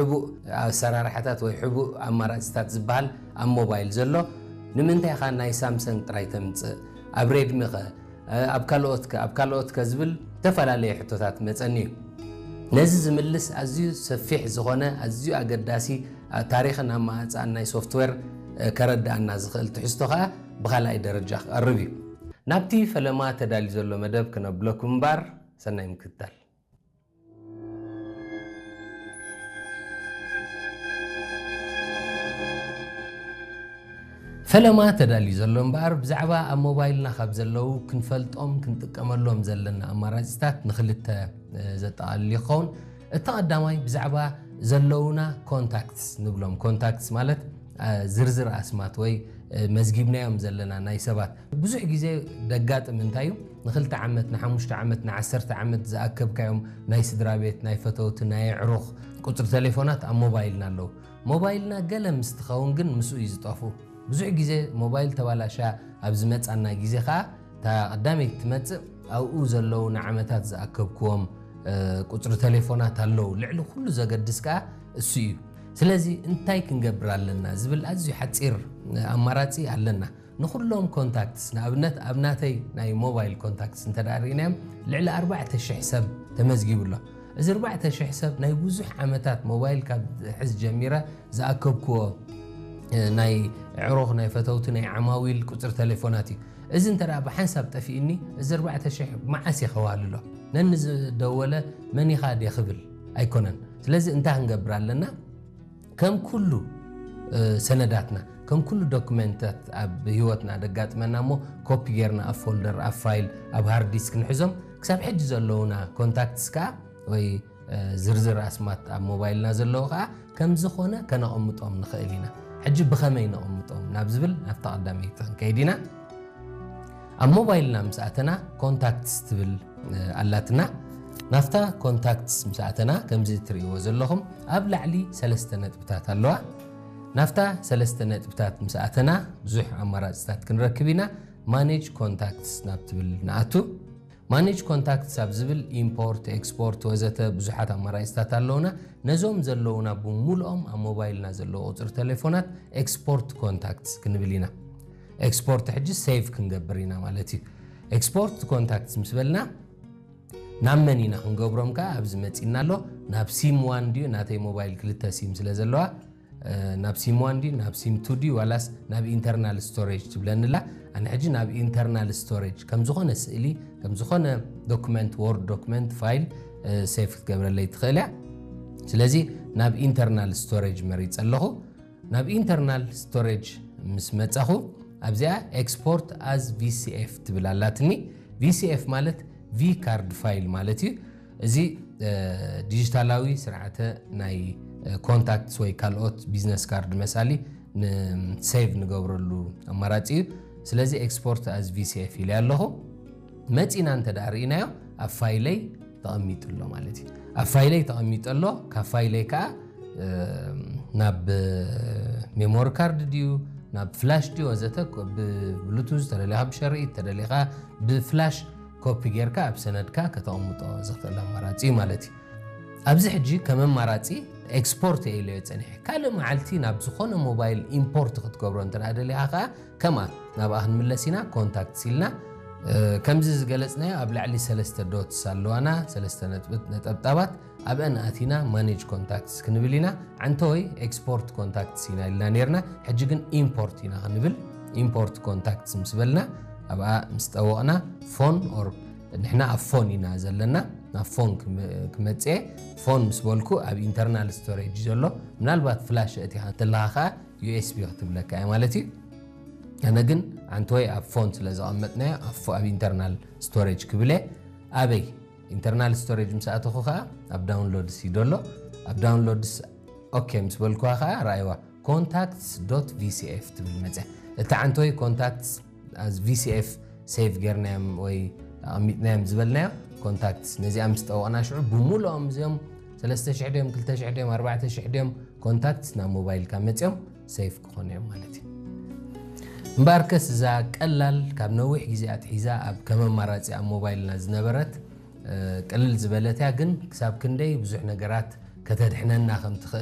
ሕቡእ ኣሰራርሓታት ወይ ሕቡእ ኣማራፅታት ዝበሃል ኣብ ሞባይል ዘሎ ንምንታይ ኢኻ ናይ ሳምሰንግ ጥራይ ተምፅእ? ኣብ ሬድሚ ኸ? ኣብ ካልኦት ከ? ኣብ ካልኦት ከ ዝብል ዝተፈላለየ ሕቶታት መፀኒ እዩ። ነዚ ዝምልስ ኣዝዩ ሰፊሕ ዝኾነ ኣዝዩ ኣገዳሲ ታሪኽን ኣማኣፅኣን ናይ ሶፍትዌር ከረድኣና ዝኽእል ትሕዝቶ ከዓ ብኻልኣይ ደረጃ ክቐርብ እዩ። ናብቲ ፈለማ ተዳልዩ ዘሎ መደብ ክነብለኩም እምበር ሰናይ ምክትታል። ፈለማ ተዳልዩ ዘሎ እምበኣር ብዛዕባ ኣብ ሞባይልና ካብ ዘለዉ ክንፈልጦም ክንጥቀመሎም ዘለና ኣማራፂታት ንክልተ ዘጠቓልል ይኸውን። እቲ ቀዳማይ ብዛዕባ ዘለዉና ኮንታክትስ ንብሎም። ኮንታክትስ ማለት ዝርዝር ኣስማት ወይ መዝጊብናዮም ዘለና ናይ ሰባት። ብዙሕ ግዜ ደጋጥም እንታይ እዩ? ንክልተ ዓመት ንሓሙሽተ ዓመት ንዓሰርተ ዓመት ዝኣከብካዮም ናይ ስድራ ቤት ናይ ፈተውቲ ናይ ኣዕሩኽ ቁፅሪ ቴሌፎናት ኣብ ሞባይልና ኣለዉ። ሞባይልና ገለ ምስ ትኸውን ግን ምስኡ እዩ ዝጠፍኡ። ብዙሕ ግዜ ሞባይል ተባላሻ ኣብ ዝመፃና ግዜ ከዓ እታ ቀዳመይቲ ትመፅእ ኣብኡ ዘለዉ ንዓመታት ዝኣከብክዎም ቁፅሪ ቴሌፎናት ኣለዉ። ልዕሊ ኩሉ ዘገድስ ከዓ እሱ እዩ። ስለዚ እንታይ ክንገብር ኣለና ዝብል ኣዝዩ ሓፂር ኣማራፂ ኣለና። ንኩሎም ኮንታክትስ ንኣብነት ኣብ ናተይ ናይ ሞባይል ኮንታክትስ እንተ ርኢናዮም ልዕሊ ኣርባዕተ ሽሕ ሰብ ተመዝጊቡ ኣሎ። እዚ ኣርባዕተ ሽሕ ሰብ ናይ ብዙሕ ዓመታት ሞባይል ካብ ሕዝ ጀሚረ ዝኣከብክዎ ናይ ዕሩኽ ናይ ፈተውቲ ናይ ዓማዊል ቁፅሪ ቴሌፎናት እዩ። እዚ እንተ ብሓንሳብ ጠፊእኒ እዚ ኣርባዕተ ሽሕ መዓስ እየ ከዋልሎ? ነኒ ዝደወለ መን ኢኻ ድየ ክብል ኣይኮነን። ስለዚ እንታይ ክንገብር ኣለና? ከም ኩሉ ሰነዳትና ከም ኩሉ ዶክመንታት ኣብ ህይወትና ደጋጥመና እሞ ኮፒ ጌርና ኣብ ፎልደር ኣብ ፋይል ኣብ ሃርድ ዲስክ ንሕዞም። ክሳብ ሕጂ ዘለዉና ኮንታክትስ ከዓ ወይ ዝርዝር ኣስማት ኣብ ሞባይልና ዘለዉ ከዓ ከም ዝኾነ ከነቐምጦም ንኽእል ኢና። ሕጂ ብኸመይ ነቐምጦም ናብ ዝብል ናብታ ቀዳመይቲ ክንከይድ ኢና። ኣብ ሞባይልና ምስ ኣተና ኮንታክትስ ትብል ኣላትና። ናብታ ኮንታክትስ ምስ ኣተና ከምዚ እትርእይዎ ዘለኹም ኣብ ላዕሊ ሰለስተ ነጥብታት ኣለዋ። ናብታ ሰለስተ ነጥብታት ምስ ኣተና ብዙሕ ኣማራፅታት ክንረክብ ኢና። ማኔጅ ኮንታክትስ ናብ ትብል ንኣቱ። ማኔጅ ኮንታክትስ ኣብ ዝብል ኢምፖርት፣ ኤክስፖርት ወዘተ ብዙሓት ኣማራፅታት ኣለዉና። ነዞም ዘለዉና ብምሉኦም ኣብ ሞባይልና ዘለዉ ቁፅሪ ቴሌፎናት ኤክስፖርት ኮንታክትስ ክንብል ኢና። ኤክስፖርት ሕጂ ሴቭ ክንገብር ኢና ማለት እዩ። ኤክስፖርት ኮንታክትስ ምስ በልና ናብ መን ኢና ክንገብሮም ከዓ ኣብዚ መፂና ኣሎ። ናብ ሲም ዋን ድዩ? ናተይ ሞባይል ክልተ ሲም ስለ ዘለዋ ናብ ሲም ዋን ድዩ ናብ ሲም ቱ ድዩ ዋላስ ናብ ኢንተርናል ስቶሬጅ ትብለኒ ኣላ። ኣነ ሕጂ ናብ ኢንተርናል ስቶሬጅ ከም ዝኾነ ስእሊ ከም ዝኾነ ዶክመንት ወርድ ዶክመንት ፋይል ሴቭ ክትገብረለይ ትኽእል እያ። ስለዚ ናብ ኢንተርናል ስቶሬጅ መሪፀ ኣለኹ። ናብ ኢንተርናል ስቶሬጅ ምስ መፀኹ ኣብዚኣ ኤክስፖርት ኣዝ ቪሲኤፍ ትብል ኣላትኒ። ቪሲኤፍ ማለት ቪ ካርድ ፋይል ማለት እዩ። እዚ ዲጂታላዊ ስርዓተ ናይ ኮንታክትስ ወይ ካልኦት ቢዝነስ ካርድ መሳሊ ንሴቭ ንገብረሉ ኣማራፂ እዩ። ስለዚ ኤክስፖርት ኣዝ ቪሲኤፍ ኢለ ኣለኹ። መፂና እንተ ደኣ ርኢናዮ ኣብ ፋይለይ ተቐሚጡ ኣሎ ማለት እዩ። ኣብ ፋይለይ ተቐሚጡ ኣሎ። ካብ ፋይለይ ከዓ ናብ ሜሞሪ ካርድ ድዩ ናብ ፍላሽ ድዩ ወዘተ ብብሉቱዝ ተደሊኻ ብሸርኢት ተደሊኻ ብፍላሽ ኮፒ ጌርካ ኣብ ሰነድካ ከተቐምጦ ዝኽእል ኣማራፂ እዩ ማለት እዩ። ኣብዚ ሕጂ ከም ኣማራፂ ኤክስፖርት እየ ኢለዮ ፀኒሐ። ካልእ መዓልቲ ናብ ዝኾነ ሞባይል ኢምፖርት ክትገብሮ እንተ ደኣ ደሊኻ ከዓ ከምኣ ናብኣ ክንምለስ ኢና። ኮንታክትስ ኢልና ከምዚ ዝገለፅናዮ ኣብ ላዕሊ ሰለስተ ዶትስ ኣለዋና፣ ሰለስተ ነጥብት ነጠብጣባት ኣብአን ኣቲና ማኔጅ ኮንታክትስ ክንብል ኢና። ዓንተወይ ኤክስፖርት ኮንታክትስ ኢና ኢልና ነርና። ሕጂ ግን ኢምፖርት ኢና ክንብል። ኢምፖርት ኮንታክትስ ምስ በልና ኣብኣ ምስ ጠወቕና ፎን ኦር ንሕና ኣብ ፎን ኢና ዘለና። ናብ ፎን ክመፅኤ ፎን ምስ በልኩ ኣብ ኢንተርናል ስቶሬጅ ዘሎ ምናልባት ፍላሽ እቲኻ እንተለኻ ከዓ ዩኤስቢ ክትብለካ እያ ማለት እዩ። ኣነ ግን ዓንተወይ ኣብ ፎን ስለ ዘቐመጥናዮ ኣብ ኢንተርናል ስቶሬጅ ክብለ ኣበይ ኢንተርናል ስቶሬጅ ምስ ኣተኹ ከዓ ኣብ ዳውንሎድስ እዩ ዘሎ። ኣብ ዳውንሎድስ ኦኬ ምስ በልኩዋ ከዓ ረኣይዋ ኮንታክትስ ዶት ቪሲኤፍ ትብል መፅያ። እቲ ዓንተወይ ኮንታክትስ ኣዝ ቪሲኤፍ ሴቭ ጌርናዮም ወይ ኣቐሚጥናዮም ዝበልናዮ ኮንታክትስ ነዚኣ ምስ ጠወቕና ሽዑ ብምሉኦም እዚኦም ሰለስተ ሽሕ ድዮም ክልተ ሽሕ ድዮም ኣርባዕተ ሽሕ ድዮም ኮንታክትስ ናብ ሞባይልካ መፅዮም ሴቭ ክኾኑ እዮም ማለት እዩ። እምበኣርከስ እዛ ቀላል ካብ ነዊሕ ግዜ ኣትሒዛ ኣብ ከም ኣማራፂ ኣብ ሞባይልና ዝነበረት ቅልል ዝበለት እያ፣ ግን ክሳብ ክንደይ ብዙሕ ነገራት ከተድሕነና ከም ትኽእል